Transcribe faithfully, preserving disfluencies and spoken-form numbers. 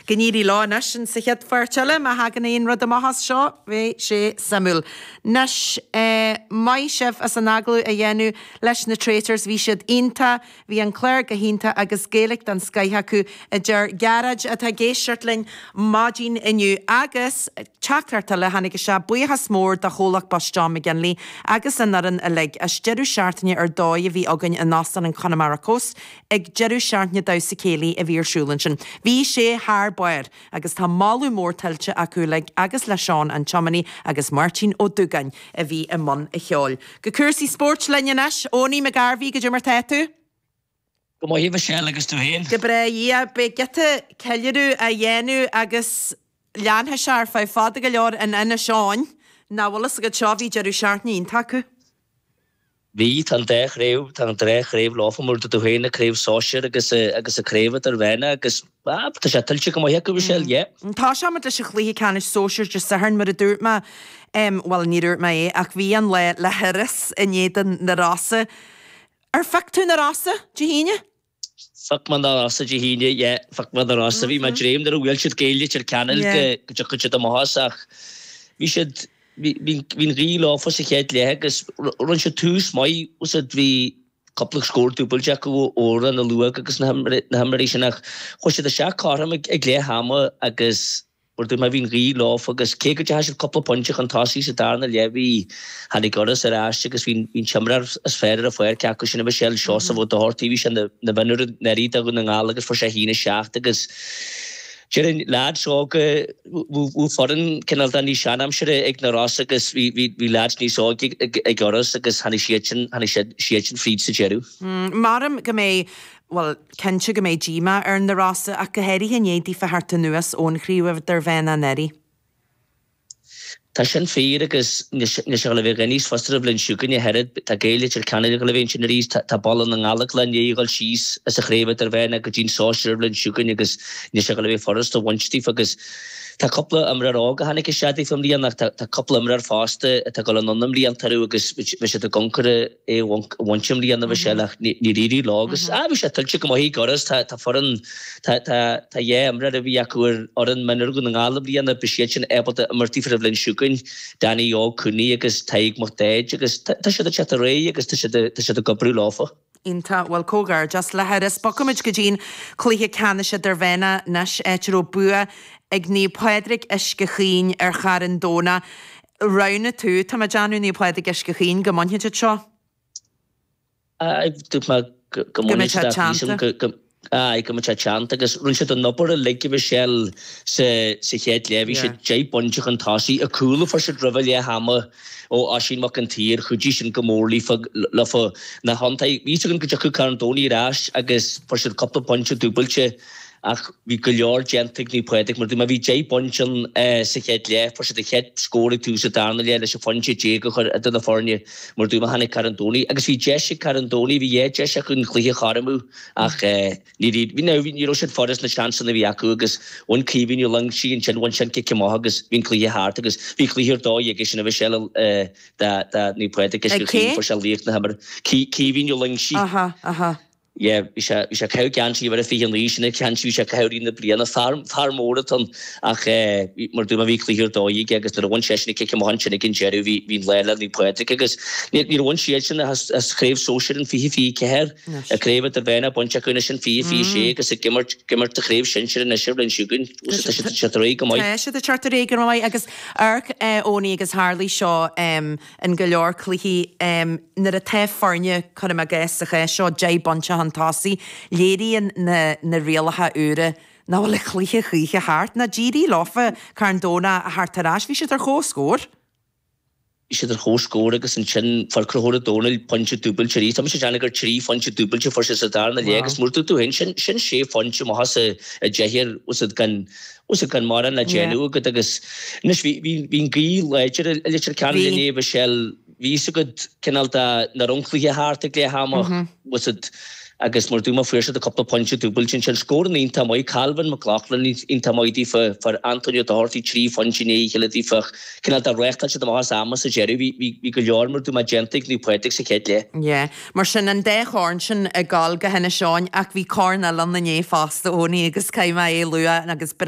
Go n-éirí leo anois in sa chéad pháirt eile, má thagann aon rud amach as seo, bheadh sé suimiúil. Anois, maith sibh as an agallamh a dhéanamh leis na Traitors, bhí siad iontach, bhí an clár go hiontach agus Gaeilge den scoith acu, a deir Gearóid atá ag éisteacht linn maidin inniu. Agus teachtaireacht eile a tháinig isteach, buíochas mór do chomhlacht Bus John McGinley agus an fhoireann uilig as deireadh seachtaine ar dóigh a bhí againn in Óstán an Connemara Coast ag deireadh seachtaine damhsa céilí a bhí ar siúl ansin. Bhí sé thar barr agus tá moladh mór tuillte acu uilig agus le Seán an tiománaí agus Máirtín Ó Dúgáin a bhí i mbun a cheoil. Go cúrsaí spóirt linn anois, Owenie McGarvey, goidé mar tá tú? Go maith Michelle agus tú féin. Go breá yeah, beidh giota ceiliúradh á dhéanamh agus leanfaidh sé ar feadh fada go leor in Inis Eoghain. Nach bhfuil fhios agat seo bhí deireadh seachtaine iontach acu. Bhí tá an dá chraobh tá an dá chraobh leofa mar tú féin na craobh sóisir agus agus a craobh idirmheánach agus ah, tá sé tuillte go maith acu Michelle, yeah. Tá seaid leis an chluiche ceannais sóisir Dé Sathairn mar a dúirt mé um, well ní dúirt mé é ach bhí an lá le hIorras in éadan na Rosa. Ar phioc tú na Rosa Dé hAoine? Phioc mé na Rosa Dé hAoine, yeah, phioc mé na Rosa bhí mé dréim ar bhfuil siad Gaeilge ar ceanil go dtiocfaidh siad amach as ach bhí siad bhí an ghaoth leofa sa chéad leath agus rinne siad tús maith úsáid bhí cúpla scór dúbailte acu óra na luach agus na himreoirí sin ach chuaigh siad isteach cothrom ag leath ama agus mar dúirt mé bhí an ghaoth leofa agus cé go dteachaigh siad cúpla pointe chun tosaigh sa darna leath bhí tháinig Iorras ar ais agus bhí an t-imreoir is fearr ar an pháirc acu sin a Michelle Seosamh Ó Dochartaigh bhí sé ina mhionúr anuraidh do Dhún na nGall agus fuair sé a haon a seacht agus Déarfainn leaids óga bhí foireann cineál de níos seanaimsire ag na Rosa agus bhí bhí leaids níos óige ag Iorras agus tháinig siad sin tháinig siad siad sin fríd sa deireadh. Maram go mbeidh well cinnte go mbeidh díomá ar na Rosa ach go háirithe i ndiaidh daofa theacht anuas ón chraobh idirmheánach anuraidh. Tá sin fíor agus níl sé le bheith níos fusa an bhliain seo chugainn a oiread. Tá Gaeil Leitir Ceanainn ag dul a bheith ansin arís, tá Baile na nGallóglach i ndiaidh a dhul síos as an chraobh idirmheánach go dtí an sóisear an bhliain seo chugainn agus níl sé le bheith furast a bhaint daofa agus tá cúpla imreoir óg a tháinig isteach daofa i mbliana ach tá cúpla imreoir fásta atá ag dul anonn i mblianta orthu agus bhí siad i gconcar é a bhaint i mbliana Michelle ach níor éirigh leo agus ah bhí sé tuillte go maith ag Iorras tá tá foireann tá tá tá dhá imreoir a bhí acu ar fhoireann mionúir Dhún na nGall i mbliana beidh siad sin ábalta imirt daofa an bhliain seo chugainn Danny Óg Cooney agus Tadhg Mac Daid agus tá siad ag teacht ar aghaidh agus tá siad tá siad ag oibriú leofa. Iontach bhuel comhghairdeas le hIorras Bogfaimid go dtí'n cluiche ceannais idirmheánach anois áit a raibh bua ag Naomh Pádraig Uisce Chaoin ar Charn Domhnach. Roghnaigh tú tá mé ag déanamh Naomh Pádraig Uisce Chaoin go mbainfidh siad seo. Dúirt mé go Go mbeidh mbainfidh sé siad teannta. go go Aye, go mbeidh sé teannta agus rinne siad an obair uilig a Michelle sa sa chéad leath bhí siad Yeah. deich bpointe chun tosaigh a cúl a fuair siad roimh leath ama ó Oisín Mac an tSaoir chuidigh sin go mór leofa leofa na hiontaigh bhí againn go dtiocfadh Carn Domhnach ar ais agus fuair siad cúpla pointe dúbailte ach bhí go leor déanta ag Naomh Pádraig mar bhí deich bpointe ann sa chéad leath fuair siad an chéad scór ag tús an darna leath leis an phointe déag a chur idir na foirne mar dúirt tháinig Carn Domhnach agus bhí deis ag Carn Domhnach bhí dhá deis acu an cluiche a chothromú ach ní bhí ní raibh siad furast na seansanna a bhí acu agus bhain Caoimhín Ó Loingsigh ansin bhain sin cic amach agus bhí an cluiche thart agus bhí cluiche ar dóigh aige sin a bhí sé da da Naomh Pádraig Ag cé? fuair sé laoch na himeartha Caoimhín Ó Loingsigh. Aha, aha. Yeah, bhí sé bhí sé caitheamh geansaí uimhir a fiche naoi sin ceann bhí sé caitheamh na bliana fear fear mór atá ann ach mar dúirt mé bhí cluiche ar dóigh aige agus nuair a bhain seisean an cic amach ansin ag an deireadh bhí bhí an lá le Naomh Pádraig agus níor bhain siad sin as as craobh sóisir an fiche fiche ceathair Anois. a craobh idirmheánach bainte acu anois an fiche fiche sé agus ag imirt ag imirt a chraobh sinsir anois ar bhliain seo chugainn. Tá siad siad ar aghaidh go maith. Tá siad ag teacht ar aghaidh go maith agus amharc Owenie agus tharlaigh seo in go leor cluichí nuair atá foirne cuirim i gcás sa chás seo deich bpointe chun tosaigh léiríonn na na rialacha úra nach bhfuil an cluiche choíche thart ná d'éirigh leofa Carn Domhnach a theacht ar ais bhí siad ar chomhscór. Bhí siad ar chomhscór agus ansin fuair Conchúr Ó Domhnaill pointe dúbailte arís. Tá mise ag déanamh gur trí phointe dúbailte fuair sé sa darna leath agus mar dúirt tú féin sin sin sé phointe amach as a a deich ar úsáid gan úsáid gan mórán le Yeah. déanamh agat agus anois bhí bhí bhí an ghaoth láidir i Leitir Ceanainn Bhí. inné Michelle bhí fhios agat cineál de nach raibh an cluiche thart ag leath ama úsáid agus mar dúirt mé fuair siad a cúpla pointe dúbailte ansin scór an iontach maith Calvin McLaughlin iontach maith daofa fuair Antonio Doherty trí phointe i ndiaidh a chéile daofa cineál de reáchtáil siad amach as ama sa deireadh bhí bhí bhí go leor mar dúirt mé déanta ag Naomh Pádraig sa chéad leath. Yeah. Mar sin an dá chorn sin ag gabháil go hInis Eoghain ach bhí corn eile ann inné fosta Owenie agus caithfidh mé é a lua agus